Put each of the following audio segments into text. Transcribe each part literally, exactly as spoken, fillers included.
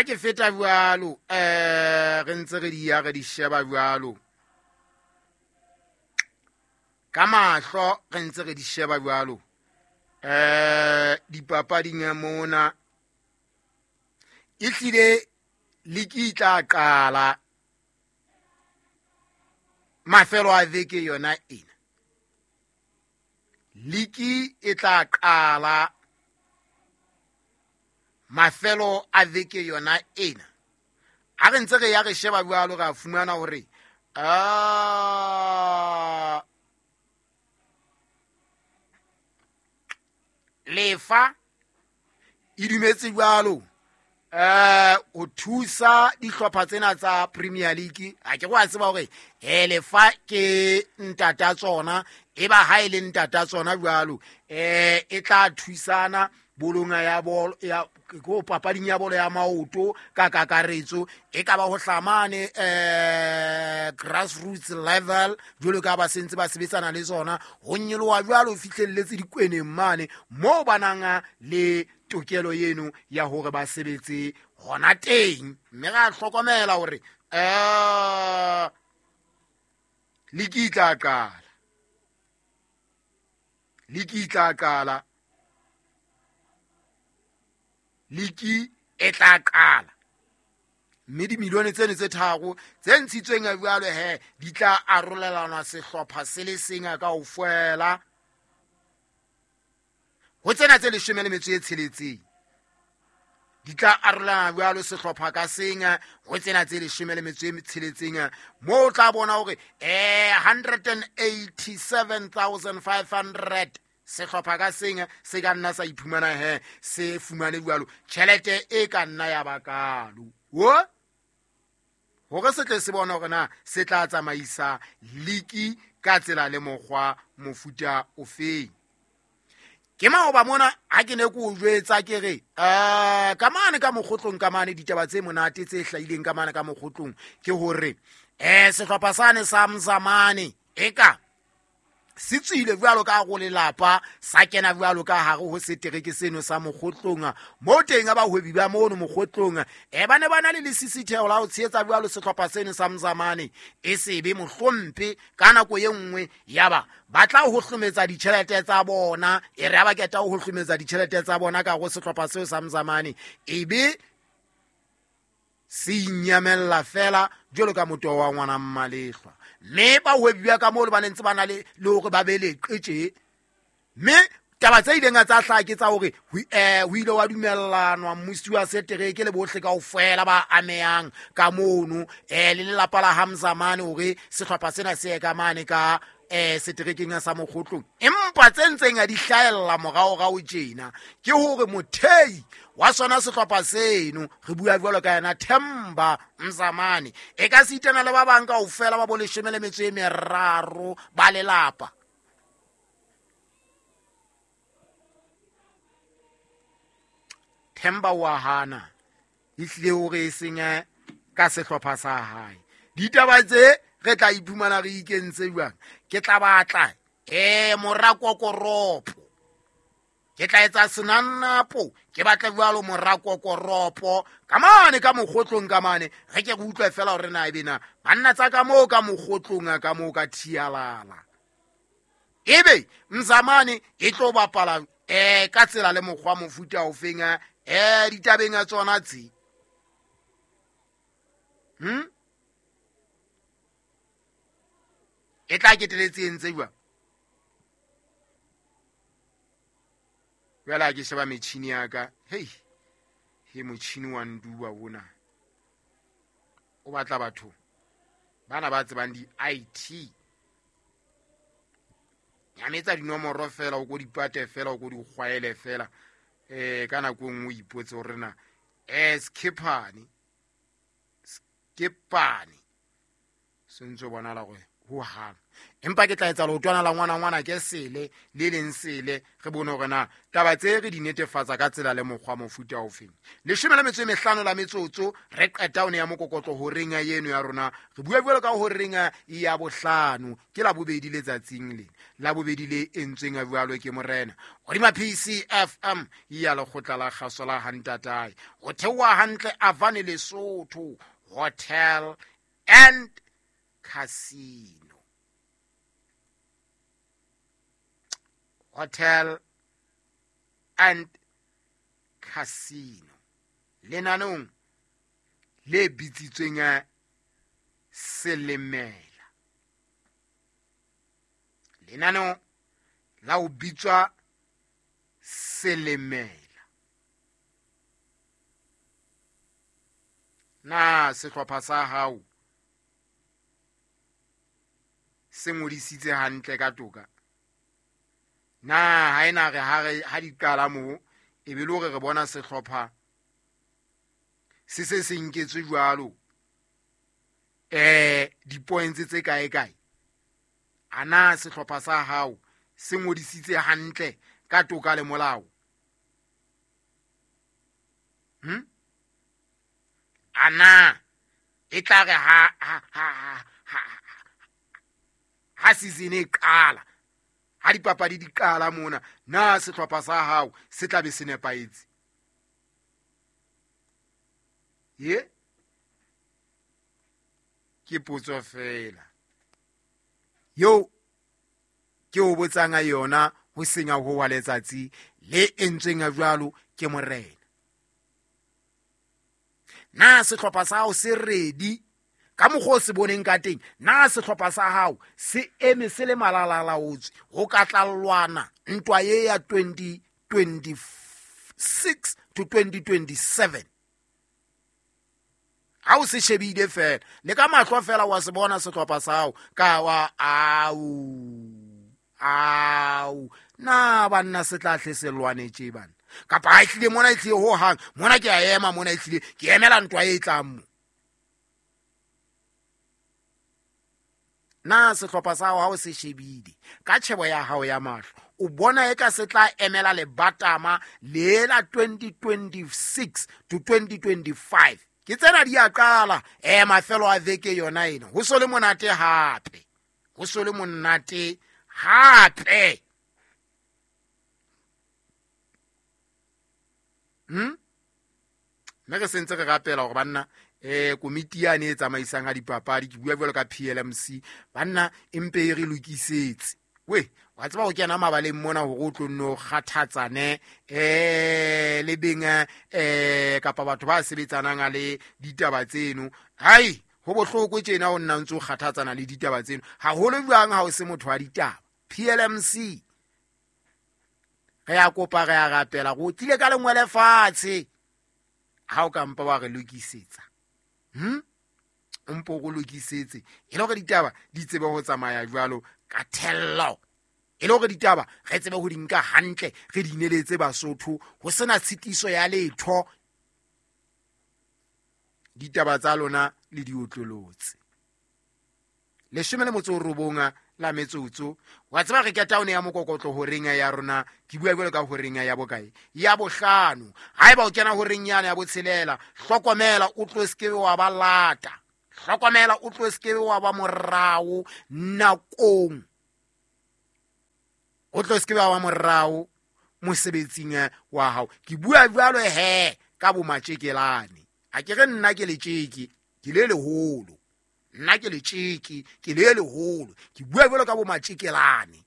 ke feta jwalo eh re ntse re di ya re di sheba jwalo ka mahlo re ntse re di sheba jwalo eh dipapading ya mona e hlile liki tla qala mafelo a veke yona ena liki e tla qala mafelo a veke yona ena a re ntse re ya re sheba jwalo ra fumana hore ah lefa e dumetse jwalo eh o thusa dihlopha tsena tsa Premier League a ke go a tseba hore eh lefa ke ntata tsona e ba ha ile ntata tsona jwalo eh e tla thusana bolonga ya bolo ya go papading ya bolo ya maoto ka kakaretso e ka ba ho hlamane eh grassroots level jwalo ka ba sentse ba sebetsana le tsona ho nyoloha jwalo fihlelletse dikweneng mane mo bananga le tokelo yeno ya hore ba sebetse hona teng mme ra hlokomela hore eh liki tla qala liki tla qala liki e tla qala mme dimilione tseno tse tharo tse ntshitsweng jwalo he di tla arolelanwa sehlopha se le seng kaofela ho tsena tse leshome le metso e tsheletseng di tla arolelana jwalo sehlopha ka seng ho tsena tse leshome le metso e tsheletseng moo o tla bona hore eh one hundred eighty-seven thousand five hundred sehlopha ka seng se ka nna sa iphumana he se fumane jwalo tjhelete e ka nna ya bakalo wo hore se tle se bona hore na se tla tsamaisa liki ka tsela le mokgwa mofuta ofeng. Ke maoba mona ha ke ne ke o jwetsa ke re eh ka mane ka mokgotlong ka mane ditaba tse monate tse hlahileng ka mane ka mokgotlong ke hore eh sehlopha sane sa Mzamane eka se tswile jwalo ka go lelapa sa kena jwalo ka hare ho setereke seno sa mokgotlong mo teng ba hwebi ba mono mokgotlong e ba ne ba na le lesisitheo la ho tshehetsa jwalo sehlopha seno sa Mzamane e sebe mohlompe ka nako ye nngwe yaba ba tla ho hlometsa ditjhelete tsa bona e re ba keta ho hlometsa ditjhelete tsa bona ka go sehlopha seo sa Mzamane ebe se inyamella fela jwalo ka motho wa ngwana mmalehlwa mme ba hwebiwa ka moo ba ntse ba na le le hore ba be le qetse mme taba tse ileng tsa hlaha ke tsa hore eh ho ile wa dumellanwa mmusi wa setereke le bohle kaofela ba amehang ka mono eh le lelapa la Hamzamane hore sehlopha sena se ye ka mane ka eh seterekeng sa mokgotlong empa tse ntseng a di hlahella moraorao tjena ke hore mothei wa sona sehlopha seno re bua jwalo ka yena Themba Mzamane e ka sitana le ba bang kaofela ba bo leshome le metso e meraro ba lelapa Themba wa hana ehlile hore e seng ka sehlopha sa hae ditaba tse re tla iphumana re ikentse jwang ke tla batla eh morakokoropo ke tla etsa senannapo ke batla jwalo morakokoropo ka mane ka mokgotlong ka mane re ke re utlwe fela hore na ebe na banna tsa ka moo ka mokgotlong ka moo ka thialala ebe Mzamane e tlo bapala eh ka tsela le mokgwa mofuta ofeng eh ditabeng a tsona tse hm e tla keteletse entse jwang jwale ha ke sheba metjhini ya ka hei he motjhini wa nduwa ona o batla batho bana ba tsebang di-I T nyametsa dinomoro fela o ko dipate fela o ko di kgwaele fela eh ka nako e nngwe o ipotse hore na eh skepane skepane se ntse bonala gore ho hang. Empa ke tla etsa leotwana la ngwana ngwana ke sele le leng sele re bone hore na taba tse re di netefatsa ka tsela le mokgwa mofuta ofeng. Leshome le metso e mehlano la metsotso re qeta one ya mokokotlo horeng ya eno ya rona. Re bua jwalo ka horeng ya bohlano ke la bobedi letsatsing lena. La bobedi le entsweng a jwalo ke morena. Hodima P C F M ya lekgotla la kgaso la Hantatae. Ho theoha hantle Avane Lesotho Hotel and Casino. Hotel and Casino. Lenanong le bitsitsweng Selemela. Lenanong la o bitswa Selemela. Na sehlopha sa hao se ngodisitse hantle ka toka? Na ha ena re ha re ha di qala moo e be le hore re bona sehlopha se se se nketswe jwalo eh di-points tse kae kae. Ana sehlopha sa hao se ngodisitse hantle ka toka le molao? Hm? Ana e tla re ha ha ha ha ha season e qala, ha dipapadi di qala mona, na sehlopha sa hao se tla be se nepahetse? Ye ke potso fela yo ke o botsang yona ho senya ho wa letsatsi le entsweng jwalo ke morena. Na sehlopha sa hao se ready ka mokgwa o se boneng ka teng? Na sehlopha sa hao se eme se le malalalaotswe ho ka tla lwana ntwa ye ya twenty twenty-six to twenty twenty-seven? Ha o se shebile fela le ka mahlo fela wa se bona sehlopha sa hao ka wa au au na banna se tla hle se lwanetse bana kapa ha ehlile mona e tlile ho hang mona ke a ema mona e tlile ke emela ntwa e tlang mo. Na sehlopha sa hao ha o se shebile ka tjhebo ya hao ya mahlo o bona e ka se tla emela lebatama le la twenty twenty-six to twenty twenty-five? Ke tsena di a qala eh mafelo a veke yona ena ho so le monate hape, ho so le monate hape. Hm? Mme re sentse re rapela hore banna eh komiti yane e tsamaisang ha dipapadi ke bua jwalo ka P L M C banna empe e re lokisetse. We wa tseba ho kena mabaleng mona hore o tlo nno kgathatsane eh le beng eh kapa batho ba sebetsanang le ditaba tseno. Hai ho bohloko tjena o nna ntse o kgathatsana le ditaba tseno haholo jwang ha o se motho wa ditaba. P L M C re ya kopa re ya rapela go tlile ka lengwe lefatshe ha o ka mpa wa re lokisetsa. Hm? Mpo go lokisetse e le hore ditaba di tsebe ho tsamaya jwalo ka thello, e le hore ditaba re tsebe ho di nka hantle re di ineletse Basotho ho sena tshitiso ya letho. Ditaba tsa lona le di otlolotse. Leshome le motso o robong la metsotso wa tseba re keta one ya mokokotlo horeng ya rona ke bua jwalo ka horeng ya bokae ya bohlano. Haeba o kena horeng yana ya botshelela hlokomela o tlo se ke wa ba lata, hlokomela o tlo se ke wa ba morao nakong, o tlo se ke wa ba morao mosebetsing wa hao. Ke bua jwalo he ka bo matjekelane. Ha ke re nna ke letjeke ke le leholo, nna ke letjeke ke le leholo, ke bua jwalo ka bo matjekelane.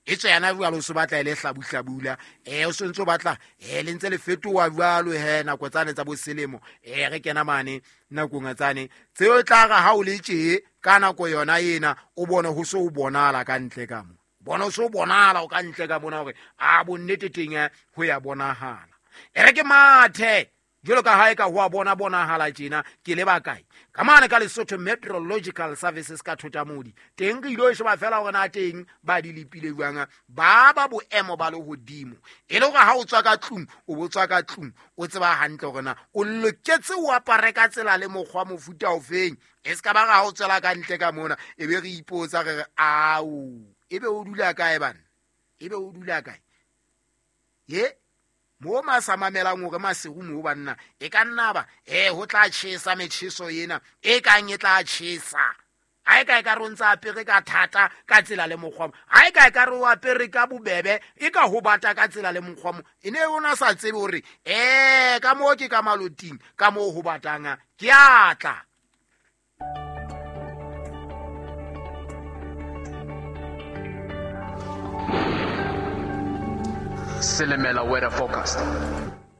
E tswe yana jwalo so batla ele hlabuhlabula eh o sentse o batla eh le ntse le fetoha jwalo he nako tsane tsa boselemo eh re kena mane nakong tsane tseo tla re ha o le tje ka nako yona ena o bone ho so o bonala ka ntle ka mo bona o so bonala o ka ntle ka bona hore a bonnete teng ho ya bonahala. E re ke mathe Jwalo ka ha e ka ho a bona bonahala tjena ke le bakae ka mane ka Lesotho Meteorological Services ka Thotamodi teng re ilo sheba fela hore na teng ba di lepile jwang ba ba boemo ba lehodimo e le hore ha o tswa ka tlung o bo tswa ka tlung o tseba hantle hore na o loketse o apare ka tsela le mokgwa mofuta ofeng e se ka ba ha o tswela ka ntle ka mona e be re ipotsa re re ao ebe o dula kae bana ebe o dula kae ye mo ma sa mamelang hore maseru mo banna e ka nna ba eh ho tla tjhesa metjheso ena e kang e tla tjhesa ha e ka e ka re o ntsa apere ka thata ka tsela le mokgwa ha e ka e ka re o apere ka bobebe e ka ho bata ka tsela le mokgwa mo e ne o na sa tsebe hore eh ka moo ke ka maloting ka moo ho batang ke a tla. Selemela weather forecast.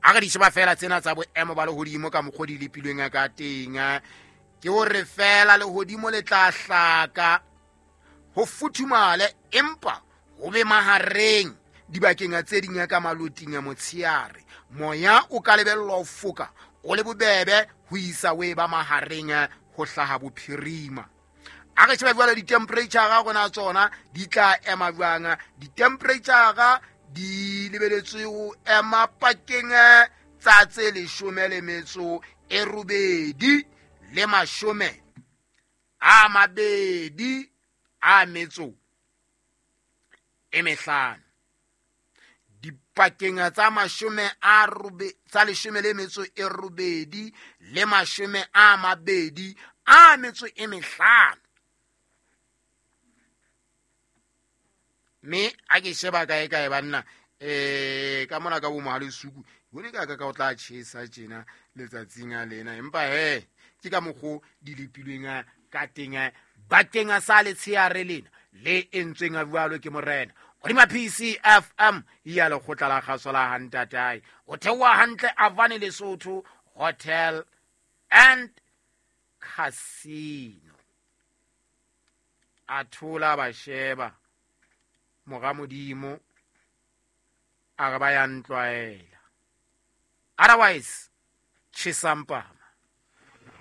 A re di sheba fela tsena tsa boemo ba lehodimo ka mokgwa di lepilweng ka teng ke hore fela lehodimo le tla hlaka ho futhumale empa ho be mahareng dibakeng tse ding ka maloting a motsheare moya o ka lebellwa ho foka o le bobebe ho isa o e ba mahareng ho hlaha bophirima. A re sheba jwale di-temperature rona tsona di tla ema jwang di-temperature di lebeletswe ho ema pakeng tsa tse leshome le metso e robedi le mashome a mabedi a metso e mehlano dipakeng tsa mashome a robe tsa leshome le metso e robedi le mashome a mabedi a metso e mehlano. Me a ke sheba kae kae banna eh ka mona ka bo mohale suku bone ka ka ka o tla tjhesa tjena letsatsing a lena empa he ke ka mokgo di lepilweng ka teng bakeng sa letsheare lena le entsweng a jwalo ke morena hodima P C F M ya lekgotla la kgaso la Hantatae o theoha hantle Avane Lesotho Hotel and Casino a thola ba sheba mora modimo a re ba ya ntlwaela otherwise tjhesampa.